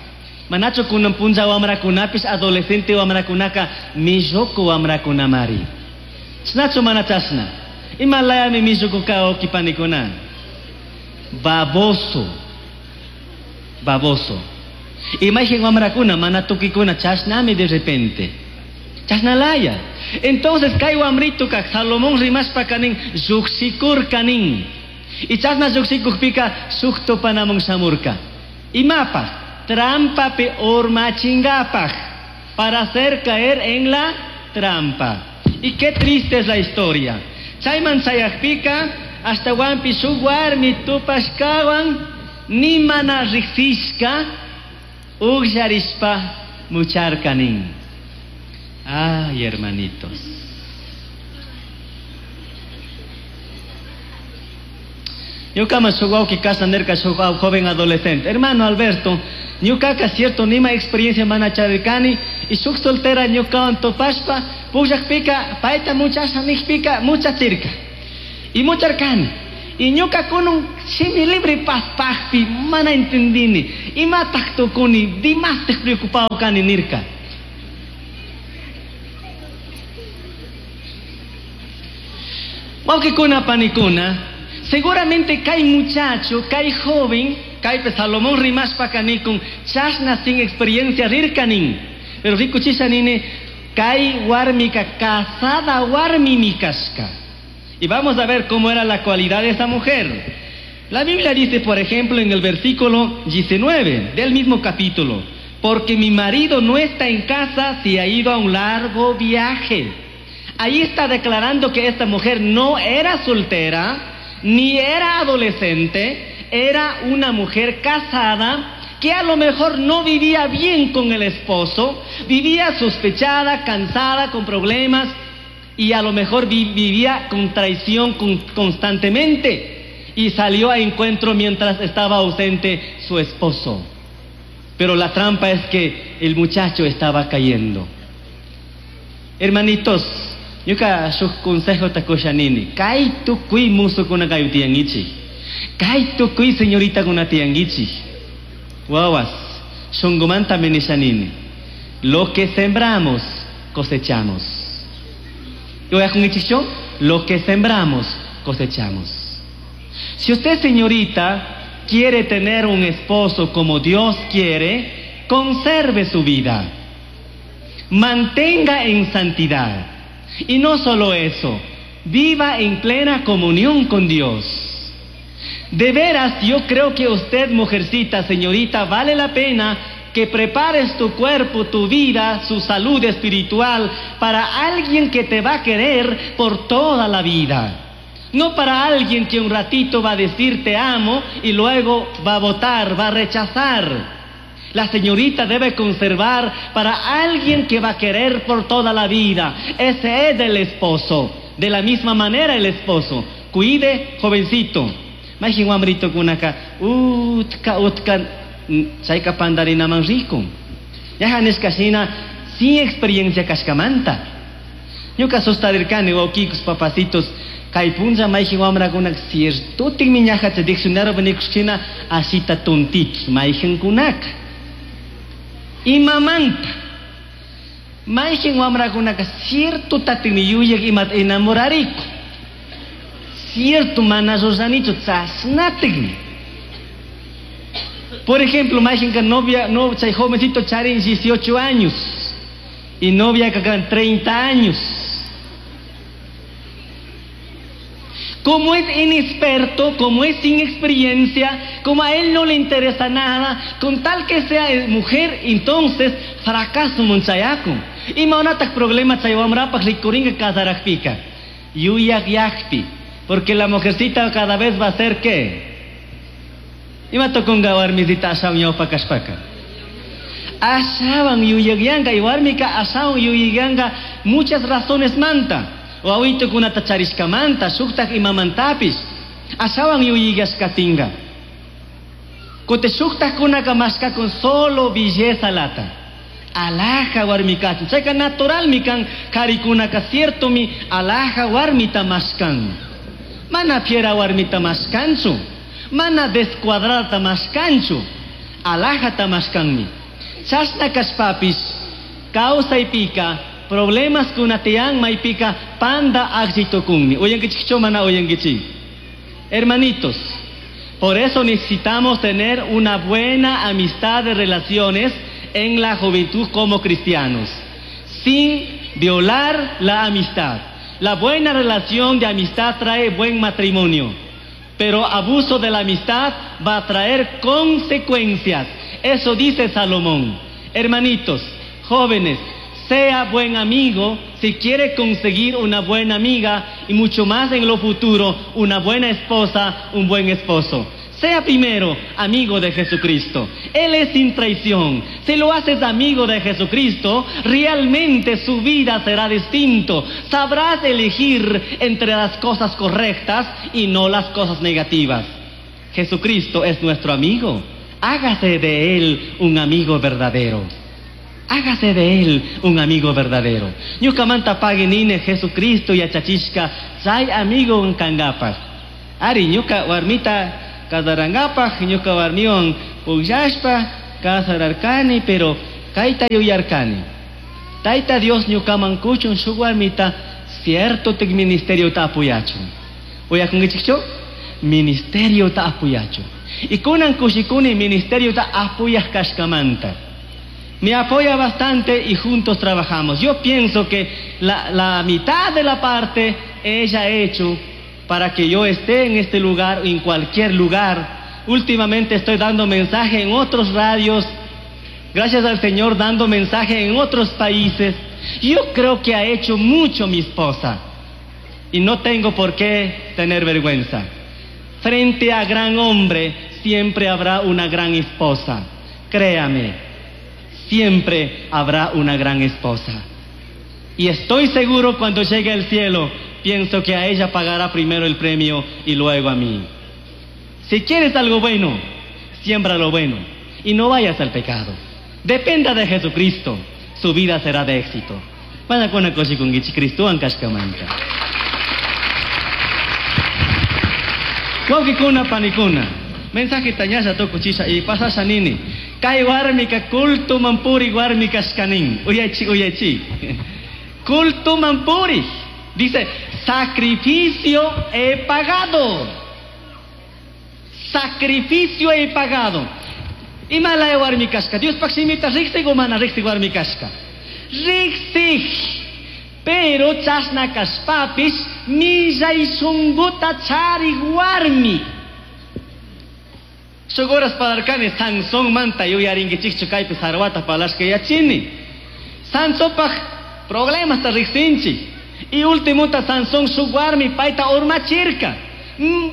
Manachu kunan punlla wamrakunapis adolescente wamrakunaka milluku wamrakunamari. Chnachu mana chashna. Imalayami milluku ka panikuna. Baboso. Baboso. Imagen wamrakuna mana tukikuna chashnami de repente. Chashnalaya. Entonces kay wamrituka Salomón rimashpa kanin lluqshikurkanin. Y chashna lluqshikukpika shuk tupanamun shamurka. Imapaj trampapi urmachingapaj, para hacer caer en la trampa. Y qué triste es la historia. Chayman chayakpika hasta wampi shuk warmi tupashkawan ni mana riqsishka uqllarishpa mucharkanin. Ay, hermanitos. Ñukaman shuk wawqi kashna nirka shuk joven adolescente. Hermano Alberto, ñukaka cierto nima experiencia mana charirkani y shuk soltera ñukawan tupashpa pukllakpika payta muchasha nijpika muchachirka. Y mucharkani. Y ñuka kunun shimi libre paspajpi mana entendini. Imataq tukuni dimastij preocupado kani nirka. Wawqikuna panikuna, seguramente kay muchacho, kay joven, kaypi Salomón rimashpaka nikun chashna sin experiencia rirkanin. Pero rikuchisha nini, kay warmika casada warmimi kashka. Y vamos a ver cómo era la cualidad de esa mujer. La Biblia dice, por ejemplo, en el versículo 19 del mismo capítulo, porque mi marido no está en casa, se ha ido a un largo viaje. Ahí está declarando que esta mujer no era soltera, ni era adolescente, era una mujer casada que a lo mejor no vivía bien con el esposo, vivía sospechada, cansada, con problemas, y a lo mejor vivía con traición constantemente, y salió a encuentro mientras estaba ausente su esposo. Pero la trampa es que el muchacho estaba cayendo. Hermanitos, ñuka shuk consejo ta kushanini. Kay tukuy musukuna kayu tiyangichik. Kay tukuy señorita kuna tiyangichik. Wawas, shungumanta menishanini. Lo que sembramos, cosechamos. Lo que sembramos, cosechamos. Si usted, señorita, quiere tener un esposo como Dios quiere, conserve su vida. Mantenga en santidad. Y no solo eso, viva en plena comunión con Dios. De veras, yo creo que usted, mujercita, señorita, vale la pena que prepares tu cuerpo, tu vida, su salud espiritual para alguien que te va a querer por toda la vida. No para alguien que un ratito va a decir te amo y luego va a votar, va a rechazar. La señorita debe conservar para alguien que va a querer por toda la vida. Ese es el esposo. De la misma manera el esposo. Cuide, jovencito. Majin wamrito kunaka utka utka chayka pandarinaman rikun. Yaja nishkashina sin experiencia kashkamanta. Ñuka sustarirkani wawkikus papacitos kay punlla mayjin wamrakuna ciertotinmi ñaja chay diccionario nikushina ashita tontitos mayjinkunaka. Imamanta mayjin wamrakunaka cierto tatinmi yuyaq imata enamorariku. Cierto mana ruranichu chashnatikmi. Por ejemplo, mayjinka novia, no, chay jovencito charin 18 años y novia kakan 30 años. Como es inexperto, como es sin experiencia, como a él no le interesa nada, con tal que sea mujer, entonces fracaso munchayaku. Ima unataj problema chay wamrapaj rikuringa kasarajpika. Yuyaq yaqpi. Porque la mujercita cada vez va a ser ¿qué? Ima tokunga warmisita ashawan ñawpa kashpaka. Ashawan yuyaqyanka y warmika ashawan yuyaqyanka muchas razones manta. Wawitukunata charishkamanta, shuktaj imamantapis. Ashawan yuyaqyashkatinga. Kote shuktajkunaka mashkakun solo belleza lata. Alhaja warmikachun. Chayka naturalmi kan karikunaka ciertomi alhaja warmita mashkan. Mana fiera warmita mashkanchu. Mana descuadrada mashkanchu. Alhajata mashkanmi. Chashna kashpapis kawsaypika problemas kunatiyan maypika panda aksitokunmi. Oyankichikcho mana oyankichik. Hermanitos, por eso necesitamos tener una buena amistad de relaciones en la juventud como cristianos, sin violar la amistad. La buena relación de amistad trae buen matrimonio, pero abuso de la amistad va a traer consecuencias. Eso dice Salomón. Hermanitos, jóvenes, sea buen amigo si quiere conseguir una buena amiga y mucho más en lo futuro, una buena esposa, un buen esposo. Sea primero amigo de Jesucristo. Él es sin traición. Si lo haces amigo de Jesucristo, realmente su vida será distinto. Sabrás elegir entre las cosas correctas y no las cosas negativas. Jesucristo es nuestro amigo. Hágase de él un amigo verdadero. Hágase de él un amigo verdadero. Ñukamanta paginine Jesucristo yachachishka chay amigo kangapaj. Ari ñuka warmita kasarangapaj, ñuka warmiwan pugllashpa kasararkani, pero kayta yuyarkani. Tayta Dios ñukaman kuchun shuk warmita cierto tic ministerio ta apoyachun. Uyakunkichikchu? Ministerio ta apoyachun. Y kunan kushikuni ministerio ta apoyaj kashkamanta. Me apoya bastante y juntos trabajamos. Yo pienso que la mitad de la parte ella ha hecho para que yo esté en este lugar o en cualquier lugar. Últimamente estoy dando mensaje en otros radios. Gracias al Señor, dando mensaje en otros países. Yo creo que ha hecho mucho mi esposa. Y no tengo por qué tener vergüenza. Frente a gran hombre siempre habrá una gran esposa. Créame, siempre habrá una gran esposa. Y estoy seguro cuando llegue al cielo, pienso que a ella pagará primero el premio y luego a mí. Si quieres algo bueno, siembra lo bueno y no vayas al pecado. Dependa de Jesucristo, su vida será de éxito. Mana kuna kushikunkichik Cristowan kashkamanta. Wawqikuna panikuna, mensaje ñalla tukuchisha y pasasha nini. Kay warmika cultuman puri warmi kashkanin. Uyachi, uyachi. Cultuman puri. Dice, sacrificio he pagado. Sacrificio he pagado. Ima laya warmi kashka. Diospaj shimita riksik o mana riksik warmi kashka. Riksik. Pero chashna kashpapish millay shunguta charik warmi. Shuk horas parlarkani Sansón manta yuyarinkichikchu kaypi sarwata parlashka yachini. Sansonpaj problemasta riksinchik. Y ultimuta Sansón shuk warmi payta urmachirka.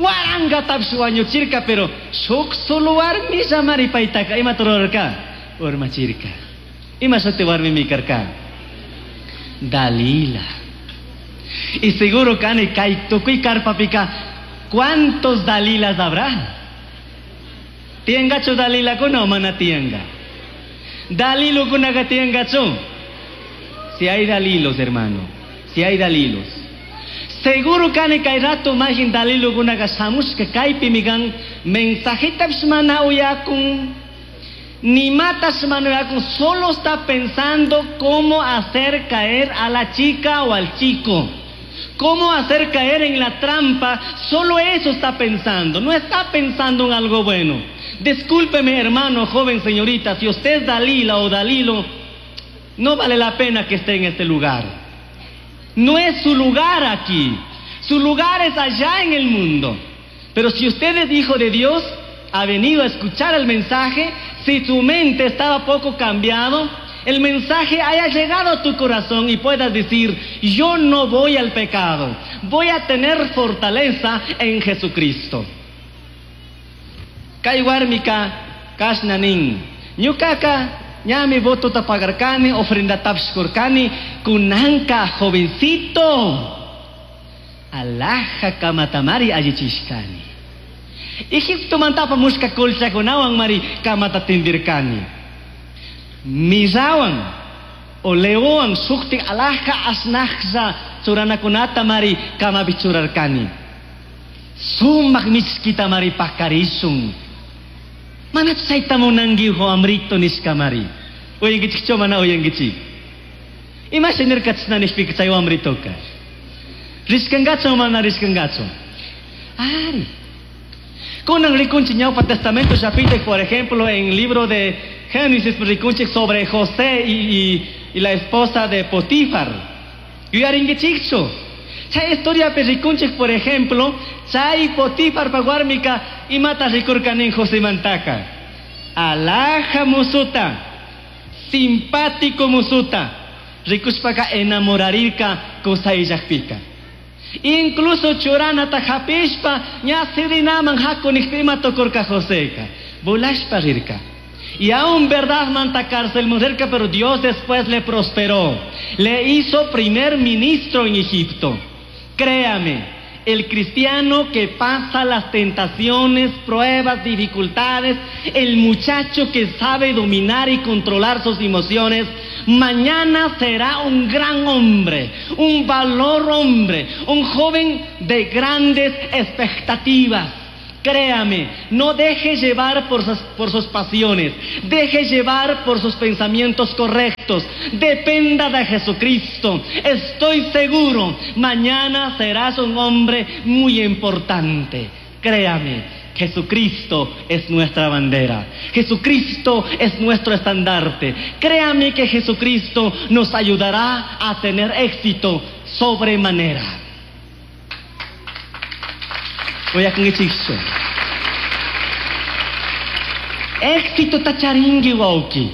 Warangatapis wañuchirka, pero shuk solo warmi llamari paytaka imata rurarka? Urmachirka. Ima shuti warmimi karka? Dalila. Y seguro kani kay tukuy karpapika, ¿cuántos Dalilas habrá? Tiyangachu Dalilakuna o mana tiyanga? Dalilukunaka tiyangachu? Si hay Dalilos, hermano, si hay Dalilos. Seguro kani kay rato majin Dalilukunaka shamushka kaypi migan mensajetapish mana uyakun, ni matas mana uyakun, solo está pensando cómo hacer caer a la chica o al chico. Cómo hacer caer en la trampa, solo eso está pensando, no está pensando en algo bueno. Discúlpeme, hermano, joven, señorita, si usted es Dalila o Dalilo, no vale la pena que esté en este lugar. No es su lugar aquí, su lugar es allá en el mundo. Pero si usted es hijo de Dios, ha venido a escuchar el mensaje, si su mente estaba poco cambiado, el mensaje haya llegado a tu corazón y puedas decir, yo no voy al pecado, voy a tener fortaleza en Jesucristo. Kay warmika kashnanin, ñukaka ñami votota pagarkani, ofrenda tapshkurkani, kunanka jovencito, alhaja kamatamari allichishkani. Egipto mantapa mushka colchakunawan mari kamata tindirkani. Mirawan o leowan sukti alhaja asnajza churanakunata mari kamapi churarkani. Sumak michkita mari pakarishun. Mana chayta munanki ujo amrito nishka mari. Uyankichikchu mana uyankichik. Imasha nirka chashna nishpika chay wamritoka. Rishkangachu o mana rishkangachu. Ari. Kunan rikunchik ñawpa testamento llapita, por ejemplo, en el libro de Génesis rikunchik sobre José y la esposa de Potifar. Yuyarinkichikchu. Chay historia pe rikunchik, por ejemplo, chay Potifar pa warmika imata rikurkanin José mantaka. Alhaja musuta, simpático musuta, rikushpaka enamorarirka kusayllakpika. Incluso churanata hapishpa ña sirinaman haku nijpi ima tukurka Joseka, volashpa rirka. Y aún verdad manta cárcel mujerka, pero Dios después le prosperó. Le hizo primer ministro en Egipto. Créame, El cristiano que pasa las tentaciones, pruebas, dificultades, el muchacho que sabe dominar y controlar sus emociones, mañana será un gran hombre, un valor hombre, un joven de grandes expectativas. Créame, no deje llevar por sus, pasiones, deje llevar por sus pensamientos correctos, dependa de Jesucristo. Estoy seguro, mañana serás un hombre muy importante. Créame, Jesucristo es nuestra bandera. Jesucristo es nuestro estandarte. Créame que Jesucristo nos ayudará a tener éxito sobremanera. Voy a con Éxito tacharingui wauki.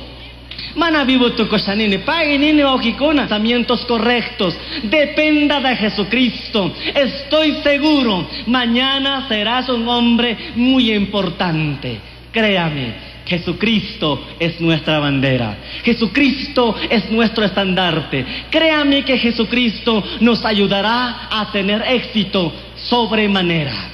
Mana vivo tu nini, pague nini wauquicuna. Pensamientos correctos. Dependa de Jesucristo. Estoy seguro, mañana serás un hombre muy importante. Créame, Jesucristo es nuestra bandera. Jesucristo es nuestro estandarte. Créame que Jesucristo nos ayudará a tener éxito sobremanera.